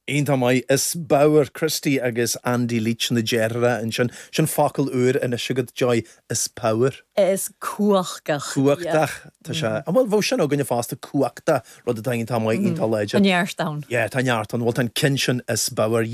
Iontach maith. Is bodhar Christy agus Andy Leech na deartháireacha ansin. Sin focal úr anois agat, Joy, is power. Is cumhachtach. Cumhachtach. Tá sé. Bhuel, bheadh sin againne fosta, cumhachtach, rud atá iontach maith, iontach láidir. Tá neart ann. Yeah, tá neart ann. Bhuel, tá an ceann sin is bodhar.